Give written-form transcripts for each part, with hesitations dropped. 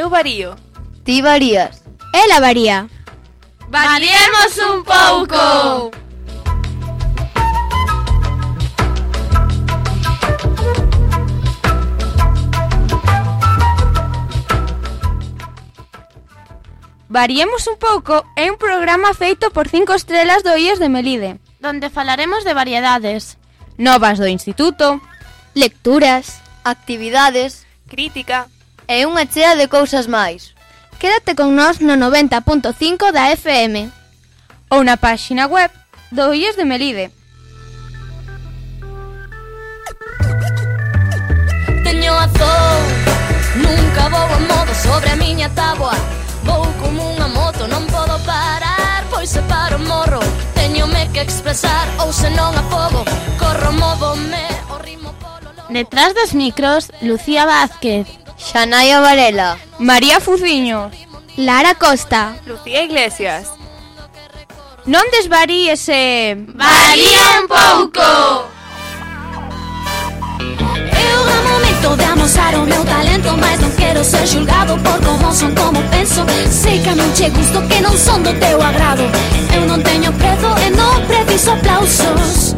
Eu varío. Ti varías. Ela varía. Variemos un pouco! Variemos un pouco é un programa feito por 5 estrelas do IES de Melide, donde falaremos de variedades, novas do instituto, lecturas, actividades Crítica. e unha chea de cousas máis. Quédate con nós no 90.5 da FM ou na páxina web do IES de Melide. Teño azul, nunca vou a modo sobre a miña táboa. Vou como unha moto, non podo parar, pois se paro morro. Teñome que expresar, ou se non a fogo, corro, móvome, o ritmo polo lobo. detrás dos micros, Lucía Vázquez, Xanaia Varela, María Fuciños, Lara Costa. Lucía Iglesias. Non desvaríes e... Varía un pouco! Eu é momento de amosar o meu talento, mas non quero ser julgado por como son, como penso. Sei que non che gusto, que non son do teu agrado. Eu non teño prezo e non preciso aplausos.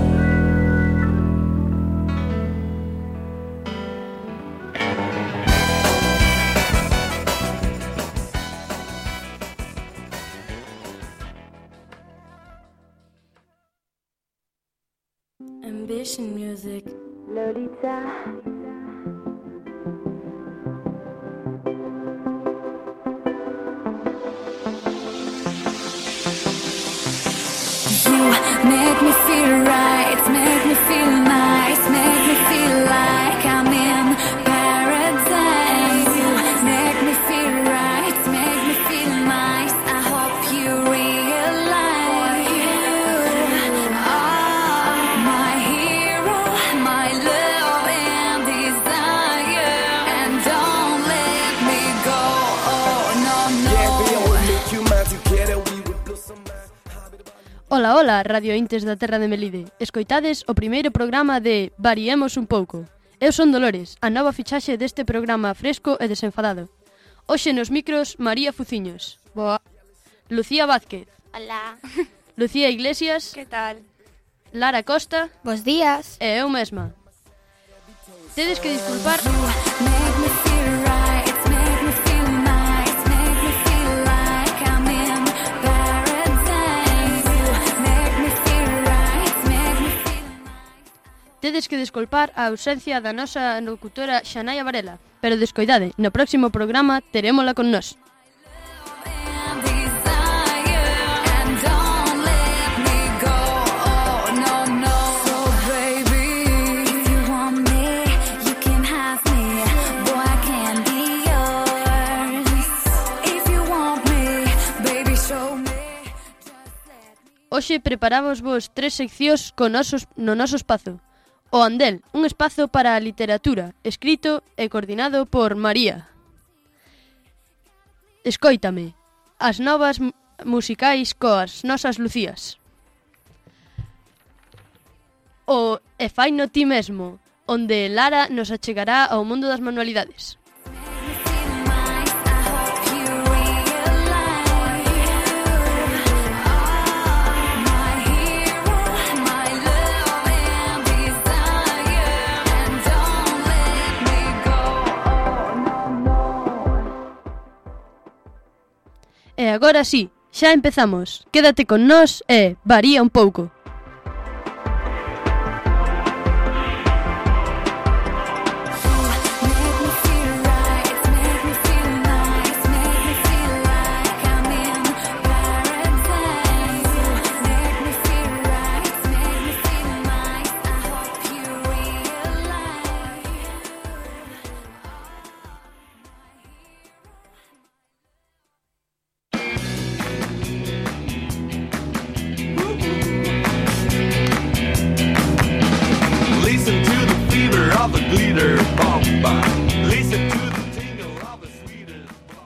Ambition music. Lolita. You make me feel right, make me feel nice, make me feel like I'm in paradise. You make me feel right, make me feel nice. I hope you realize you are my hero, my love and desire. And don't let me go, oh no, no. Ola, ola, radio intes da terra de Melide. Escoitades o primeiro programa de Variemos un pouco. Eu son Dolores, a nova fichaxe deste programa fresco e desenfadado. Hoxe nos micros, María Fuciños. Boa. Lucía Vázquez. Hola. Lucía Iglesias. Que tal? Lara Costa. Bos días. E eu mesma. Tedes que disculpar... Make me feel right, make me feel nice, make me feel like I'm in paradise. Make me feel right, make me feel nice. Tedes que disculpar a ausencia da nosa locutora Xanaia Varela. Pero descoidade, no próximo programa terémola con nós. And desire, and don't let me go, oh no, no. So baby, if you want me, you can have me, boy I can be yours. If you want me, baby show me, just let me. Hoxe preparamos vos 3 seccións no noso espazo. O Andel, un espazo para a literatura, escrito e coordinado por María. Escóitame, as novas musicais coas nosas Lucías. O E faino ti mesmo, onde Lara nos achegará ao mundo das manualidades. E agora sí, xa empezamos. Quédate con nós e varía un pouco.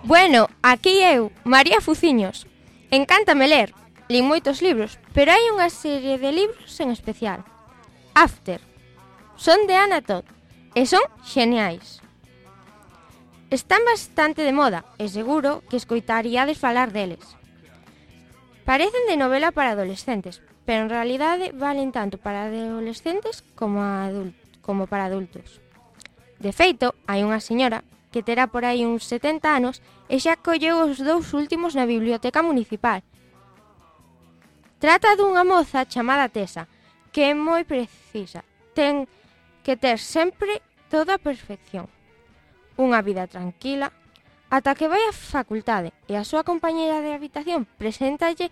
Bueno, aquí eu, María Fuciños. Encántame ler. Lin moitos libros, pero hai unha serie de libros en especial. After. Son de Anna Todd e son xeniais. Están bastante de moda e seguro que escoitaríades falar deles. Parecen de novela para adolescentes, pero en realidade valen tanto para adolescentes como para adultos. De feito, hai unha señora que terá por aí uns 70 anos e xa colleu os 2 últimos na biblioteca municipal. Trata dunha moza chamada Tesa, que é moi precisa. Ten que ter sempre toda a perfección. Unha vida tranquila, ata que vai á facultade e a súa compañeira de habitación preséntalle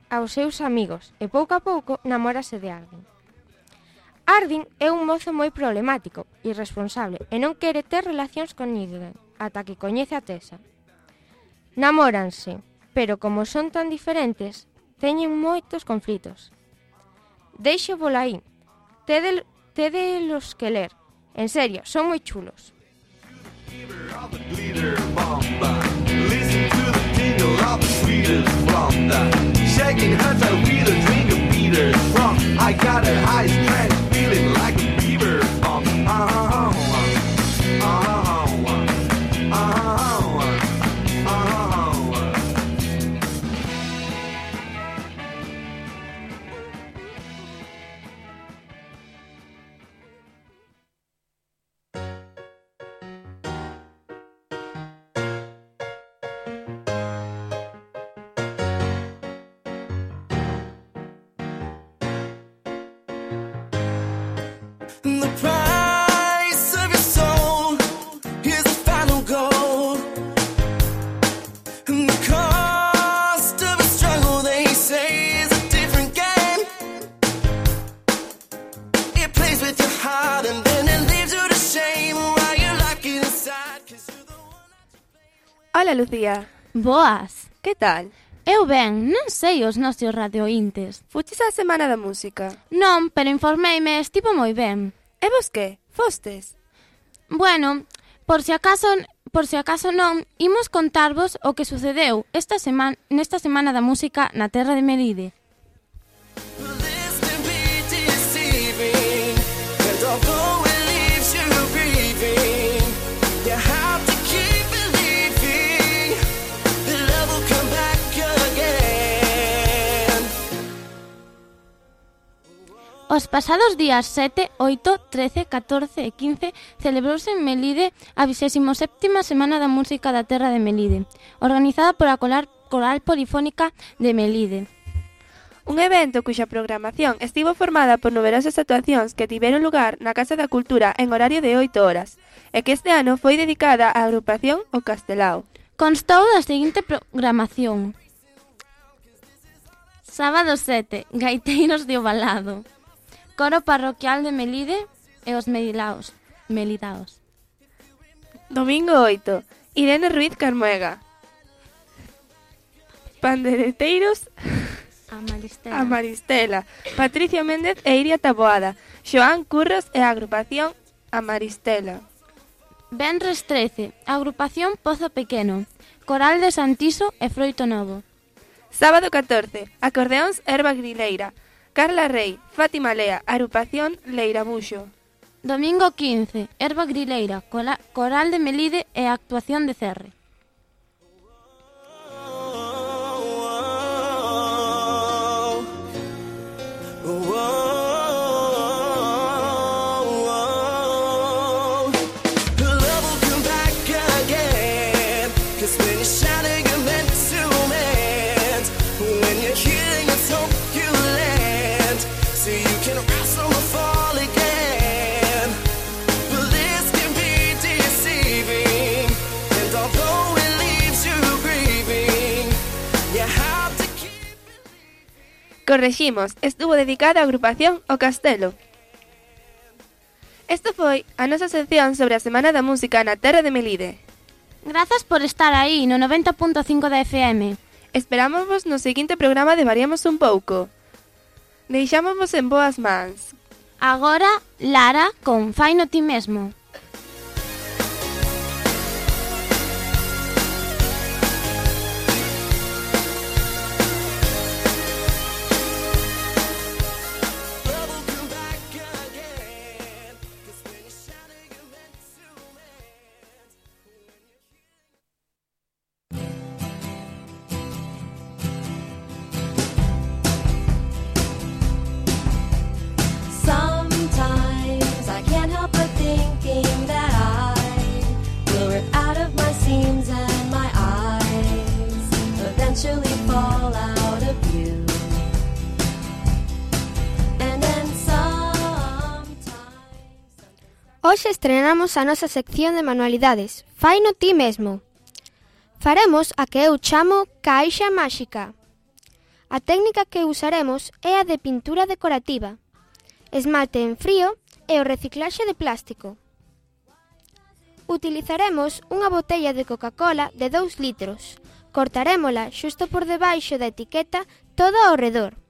aos seus amigos e pouco a pouco namórase de Ardin. Ardin é un mozo moi problemático, irresponsable e non quere ter relacións con ninguén ata que coñece a Tesa. Namóranse, pero como son tan diferentes, teñen moitos conflitos. Deixo vola aí. Tedelos que ler. En serio, son moi chulos. The price of your soul is the final goal. And the cost of a struggle, they say, is a different game. It plays with your heart and then it leaves you to shame while you lock it inside. 'Cause you're the one. Hola, Lucía. Boas. Que tal? Eu ben, non sei os nosos radiointes. Fuches a Semana da Música? Non, pero informeime, estivo moi ben. E vos que? Fostes? Bueno, por si acaso non, imos contarvos o que sucedeu nesta Semana da Música na terra de Melide. This can be deceiving, and although it leaves you grieving, you have to keep believing that love will come back again. Os pasados días 7, 8, 13, 14 e 15 celebrouse en Melide a 27ª Semana da Música da Terra de Melide, organizada pola Coral Polifónica de Melide. Un evento cuxa programación estivo formada por numerosas actuacións que tiveron lugar na Casa da Cultura en horario de 8 horas e que este ano foi dedicada á agrupación O Castelao. Constou da seguinte programación: Sábado 7, Gaiteiros de Ovalado, Coro Parroquial de Melide e os Melidaos. Domingo 8, Irene Ruiz Carmuega. Pandereteiros a Maristela, Patricia Méndez e Iria Taboada, Xoán Curros e a agrupación a Maristela. Venres 13, Agrupación Pozo Pequeno, Coral de Santiso e Froito Novo. Sábado 14, Acordeóns Herba Grileira, Carla Rey, Fátima Lea, agrupación Leirabuxo. Domingo 15, Herba Grileira, Coral de Melide e actuación de Cerre. Correximos, estuvo dedicado á agrupación O Castelo. Isto foi a nosa sección sobre a Semana da Música na terra de Melide. Grazas por estar aí no 90.5 da FM. Esperámosvos no seguinte programa de Variamos un pouco. Deixámosvos en boas mans. Agora, Lara con Faino ti mesmo. Hoxe estrenamos a nosa sección de manualidades. Faino ti mesmo. Faremos a que eu chamo caixa máxica. A técnica que usaremos é a de pintura decorativa, esmalte en frío e o reciclaxe de plástico. Utilizaremos unha botella de Coca-Cola de 2 litros. Cortarémola xusto por debaixo da etiqueta todo ao redor.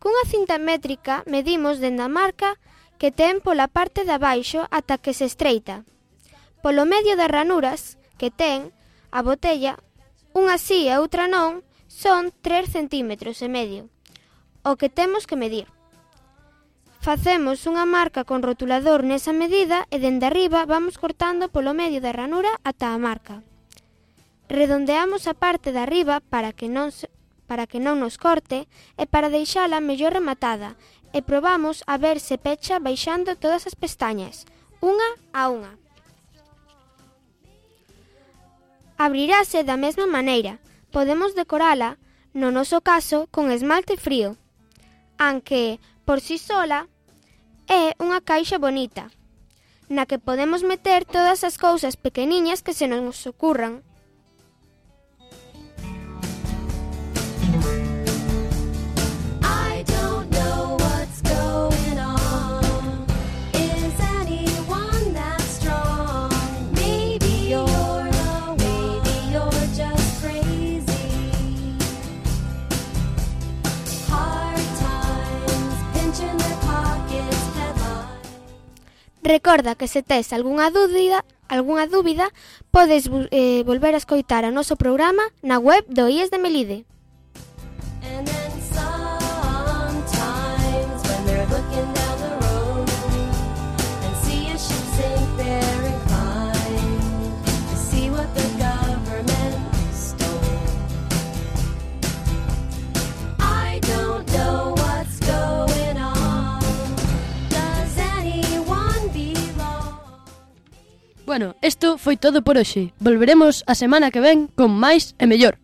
Cunha cinta métrica medimos dende a marca que ten pola parte de abaixo ata que se estreita. Polo medio das ranuras que ten a botella, unha sí e outra non, son 3 centímetros e medio, o que temos que medir. Facemos unha marca con rotulador nesa medida e dende arriba vamos cortando polo medio da ranura ata a marca. Redondeamos a parte de arriba para que non nos corte e para deixala mellor rematada e probamos a ver se pecha baixando todas as pestañas, unha a unha. Abrirase da mesma maneira. Podemos decorala, no noso caso, con esmalte frío, aunque, por si sola, é unha caixa bonita, na que podemos meter todas as cousas pequeniñas que se nos ocurran. Recorda que se tes algunha dúbida, podes volver a escoitar o noso programa na web do IES de Melide. Bueno, isto foi todo por hoxe. Volveremos a semana que ven con máis e mellor.